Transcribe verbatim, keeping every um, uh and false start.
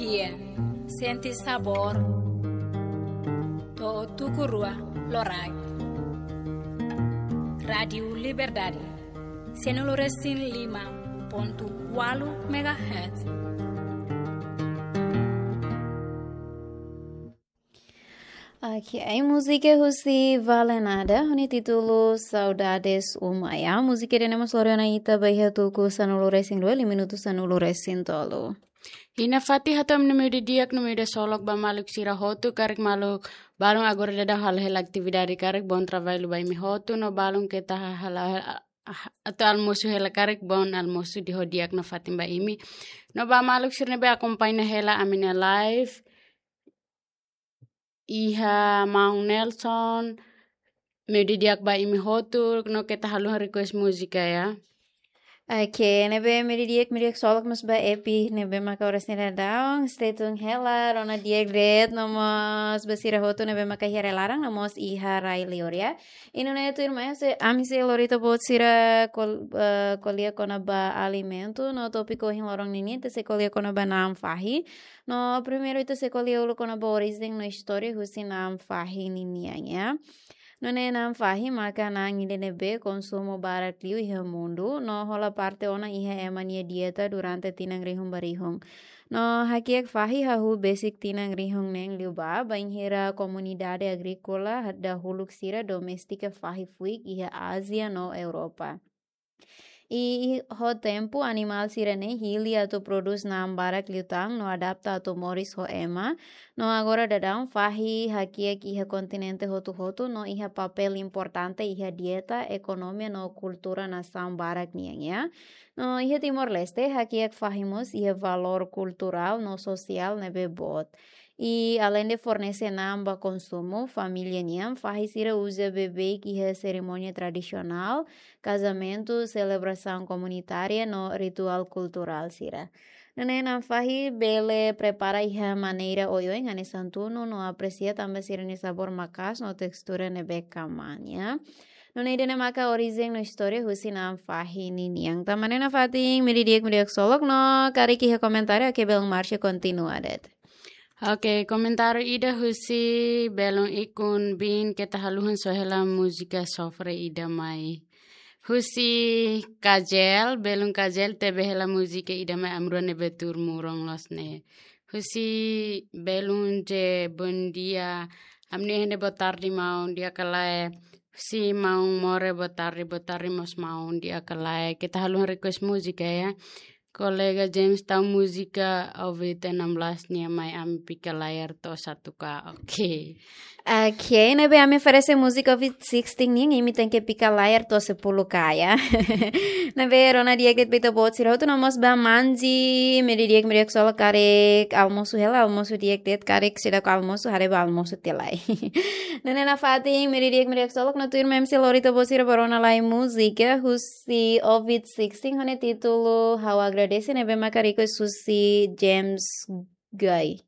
Iya, sente sabór to'o tuku rua loraik. Rádiu Liberdade, sanulu resin lima pontu ualu megahertz. Oke, ai múzika husi Vale Nada, ho nia títulu Saudades Uma, ya. Múzika ida-ne'e mós lori ona ita ba iha tuku sanulu resin rua, liu minutu sanulu resin tolu. Ida-ne'e fatin hato'o ami-nia media di'ak no media solok ba maluk sira hotu, karik maluk balun agora daudaun halo hela atividade, karik bom trabalho ba imi hotu, no balun keta hahal, ah, atu almosu hela, karik bom almosu di'ak ho di'ak nafatin ba imi. No ba maluk sira ne'ebé akompaña hela ami-nia live, iha maun Nelson, media di'ak ba imi hotu, no keta haluha request múzika, ya. Oke, ne'ebé media di'ak, media solok mós ba Epi, ne'ebé maka oras ne'e daudaun, stay tune hela, rona di'ak de'it, no mós ba sira hotu ne'ebé maka iha rai laran, no mós iha rai liur, ya. I nune'e tuirmai, se, ami sei lori ita-boot sira kol-, eh, ko'alia kona-ba alimentu, no tópiku ohin loron ninian, ita sei ko'alia kona-ba na'an fahi. No primeiru ita sei ko'alia uluk kona-ba orijen no istória husi na'an fahi ninian, ya. Nune'e na'an fahi maka na'an ida ne'ebé konsumu barak liu iha mundu, no hola parte ona iha ema nia dieta durante tinan rihun ba rihun. No hakiak fahi hahú besik tinan rihun neen liubá, bainhira komunidade agríkola dahuluk sira domestika fahi fuik iha Ázia no Europa. I ho tempu animál sira-ne'e hili atu prodús na'an barak liután no adapta atu moris ho ema. No agora daudaun fahi hakiak iha kontinente hotu-hotu no iha papél importante iha dieta, ekonomia no kultura nasaun barak nian, ya. No iha Timor-Leste hakiak fahi mós iha valór kulturál no sosiál ne'ebé boot. I aleinde fornese na'an ba konsumu, família nian, fahi sira uza beibeik iha serimónia tradisionál, kazamentu, selebrasaun komunitária no rituál kulturál sira. Nune'e na'an fahi bele prepara iha maneira oioin hanesan tunu no apresia tanba sira-nia sabór maka'as no tekstura ne'ebé kmaan, ya. Nune'e ida-ne'e maka orijen no istória husi na'an fahi ninian. Tanba ne'e nafatin, media di'ak, media solok no karik iha komentáriu, oke, belun Marcia kontinua de'it. Oke, komentáriu ida husi belun Ikun Bin, keta haluha soe hela múzika sofre ida mai. Husi Kajel, belun Kajel tebe hela múzika ida mai ami rua ne'ebé tuur murong loos ne'e. Husi belun J, bom dia. Ami-nia iha ne'e boa tarde maun, di'ak ka lae. Husi maun More, boa tarde, boa tarde mós maun, di'ak ka lae. Keta haluha request múzika, ya. Kolega James tau múzika Covid enam belas nian mai ami pika layar to'o satu K. Oke. Oke, ne'ebé ami oferese múzika Covid sixteen nian, imi tenke pika layar to'o sepuluh K, ya. Ne'ebé rona di'ak de'it ba ita-boot sira hotu no mós ba Manji, media di'ak, media solok karik almosu hela, almosu di'ak de'it, karik seidauk almosu, haree ba almosu tiha lai. Nune'e nafatin, media di'ak, media solok no tuirmai ami sei lori ita-boot sira ba rona lai múzika husi Covid sixteen ho nia títulu Ha'u Agradese, ne'ebé maka request husi James Guy.